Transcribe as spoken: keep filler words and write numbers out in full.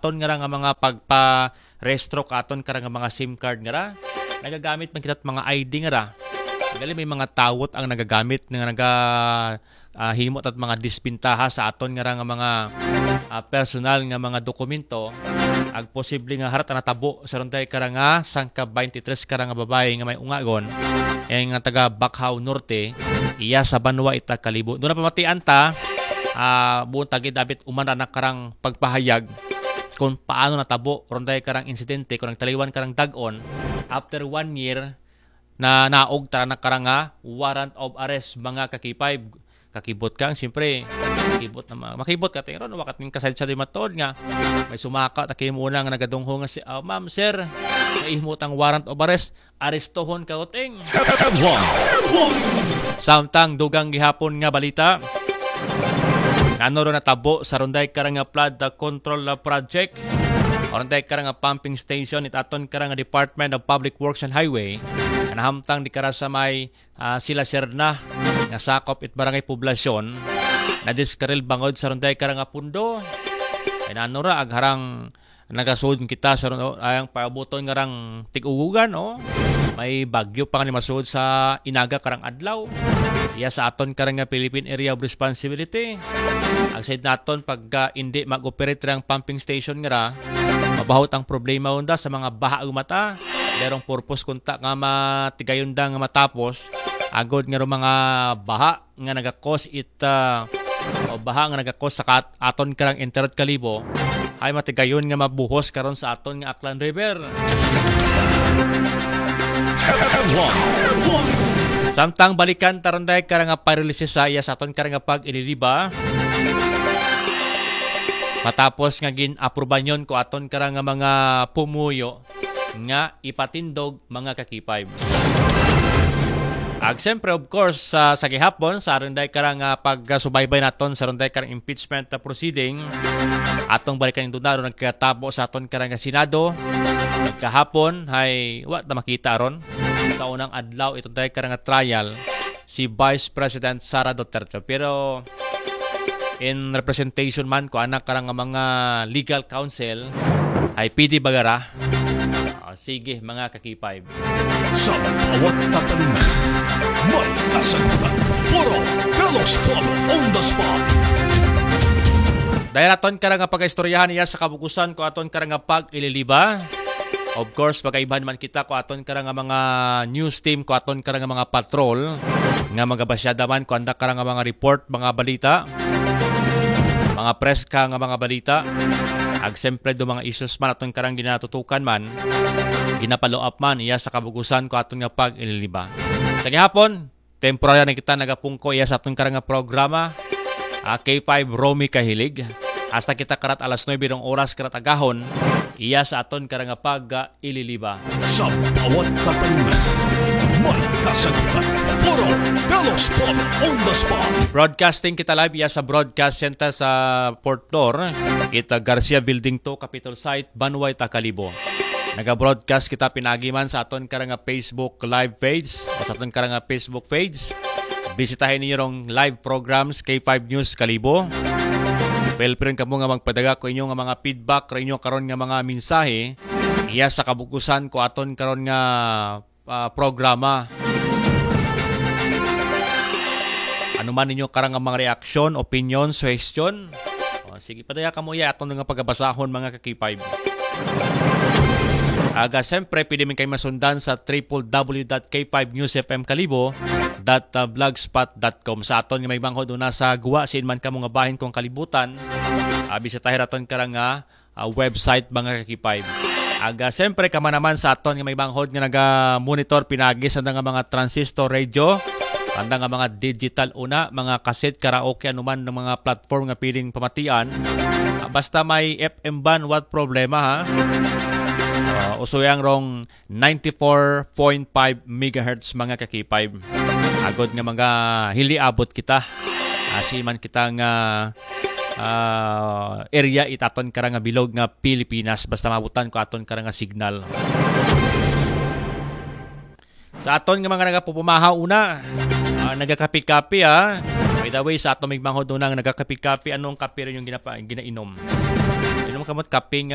aton nga ra nga mga pagpa-restro ka aton kara nga mga SIM card nga ra. Nagagamit man kita mga ID nga ra. Gali may mga tawot ang nagagamit nga naga ah, himo tat mga disbintaha sa aton nga ra nga mga ah, personal nga mga dokumento. Ag posible nga harat ang natabo sa runday kara nga sangka twenty-three kara nga babae nga may ungagon, eh, nga taga Bacau Norte, iya sa Banwa ita Kalibo. Doon na pamatian ta, ah, buong tagid abit uman na karang pagpahayag kung paano natabo runday karang insidente, kung nagtaliwan karang dagon after one year na naog tara na karang nga warrant of arrest, mga kakipay. Kakibot ka, siyempre, kakibot na ma- makibot ka tingron wakat ning kasal sa di matod nga may sumaka ta kay mo nga nagadungho nga si ah, ma'am, sir, naihmo tang warrant of arrest, arestohon ka uting. Samtang dugang gihapon nga balita, nano ro natabo sa Ronday Karanga Flood Control Project, Ronday Karanga Pumping Station, it aton karanga Department of Public Works and Highway, nahamtang di kara sa may ah, Sila Serna nga sakop it barangay Poblasyon, nadiskaril bangod sa Ronday Karanga Pundo. Ay nanura agharang nagasud kita sa ron- ayang paabuton nga rang tigugugan, oh. May bagyo pa nga ni masud sa inaga karang adlaw. Iya sa aton karang nga Philippine Area of Responsibility. Ang said naton pagka hindi mag-operate rang pumping station nga ra, mabahot ang problema unda sa mga baha ug mata. Derong purpose kunta nga matigayon da nga matapos agod nga ro mga baha nga nagakos it ah, o baha nga nagakos sa kat aton karang internet Kalibo ay matigayon nga mabuhos karon sa aton nga Aklan River. Samtang balikan taron day karang nga paralysis sa iya sa aton karang nga pag-ililiba. Matapos nga gin-aprubanyon ko aton karang nga mga pumuyo nga ipatindog mga kakipay. Ag siyempre, of course, sa, sa gihapon, sa aron day karang ah, pagsubaybay naton sa aron day karang impeachment ah, proceeding, atong balikan yung dunaro nagkatabo sa aton karang ah, Senado. Kahapon, hay, wa na makita aron. Sa unang adlaw, itong day karang ah, trial, si Vice President Sara Duterte. Pero, in representation man ko anak karang mga legal counsel ay P D Bagara. Ah, sige, mga kakipay. Sa bawat tatanungan, may kasagutan. Puro Carlos Pablo on the spot. Dahil aton karang pag-istoryahan niya sa kabukusan ko aton karang pag-ililiba. Of course, pagkaibahan man kita ko aton karang mga news team, ko aton karang mga patrol nga magabasyada man ko anda karang mga report, mga balita, mga preska nga mga balita. Ag siyempre do mga issues man aton karang ginatutukan man, ginapalo up man iya sa kabugusan ko aton nga pag-ililiba. Sa gihapon, temporary na kita nagapungko iya sa aton karang nga programa, ah, K five Romy Kahilig. Hasta kita karat alas nuebe rong oras karat agahon, iya sa aton karang nga pag-ililiba. Sa bawat katanungan, may kasagutan. Puro Carlos Pablo on the spot. Broadcasting kita live iya sa broadcast center sa fourth floor, kita Garcia Building two, Capitol Site, Banway, Takalibo. Naga-broadcast kita pinaagi man sa aton karang nga Facebook live page o sa aton karang nga Facebook page. Bisitahin niyo rong live programs K five News Kalibo. Feel free kamo nga magpadaga ko inyo nga mga feedback, ro inyo karon nga mga mensahe. Iya sa kabukusan ko aton karon nga ah, programa. Ano man ninyo karang nga mga reaksyon, opinion, suhestyon? O, sige, padaya kamo iya aton nga pagabasahon, mga kakipay. Aga, siyempre, pwede man kayo masundan sa triple W dot K five News F M Kalibo dot blogspot dot com. Sa aton nga may banghod una sa guwa, siin man kamo nga bahin kong kalibutan. Ah, bisitahin aton karang nga ah, website, mga kakipay. Aga, siyempre, kama naman sa aton nga may banghod nga naga-monitor pinagi sa nga mga transistor radio, anda nga mga digital una, mga kaset, karaoke, anuman ng mga platform nga piling pamatian. Ah, basta may F M band, what problema, ha? Ah, usoyang rong ninety-four point five megahertz, mga kakipay. Agod nga mga hiliabot kita. Asi man kita nga ah, area itaton kara nga bilog nga Pilipinas, basta mabutan ko aton kara nga signal. Sa aton nga mga nagapupumahaw una, ah, nagakapi-kapi, ah. By the way, sa aton migmanghod una nga nagakapi-kapi, anong kape rin yung ginapa, ginainom? Inom kamot kape nga